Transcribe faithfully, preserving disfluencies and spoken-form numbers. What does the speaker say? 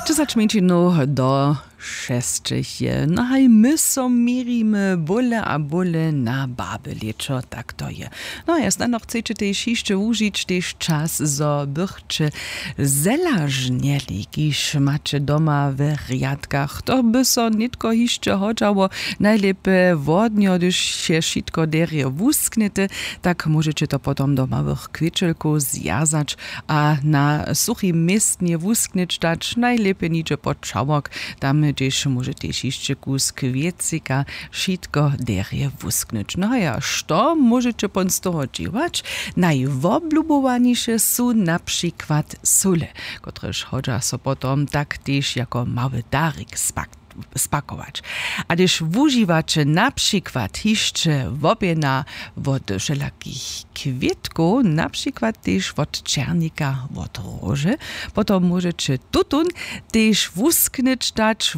Dźesać mjeńšinow do šesćich je. No haj my so měrimy bóle a bóle na baby lěćo, tak to je. No a snano chceće tež hišće wužić tež čas zo bychće zelažnjeli kiž maće doma we rjadkach, to by so nětko hišće hodźało. Najlěpje wodnjo hdyž je wšitko derje wusknjete, tak móžeće to potom do małych kwěćelkow zwjazać a na suchim městnje wusknyć dać, najlěpje nihdźe pod čałok. Tam hdźež móže tež hišće kusk wěcika wšitko derje wusknyć. No a ja, što móžeće pon z toho dźěłać? Najwoblubowaniše su na přikład sóle, kotrež hodźa so potom tak tež jako mały darik spak spakować. A hdyž wužiwaće na přikład hišće wobjena wot wšelakich kwětkow, na přikład tež wot černika, wot róže, potom móžeće tutón tež wusknyć dać.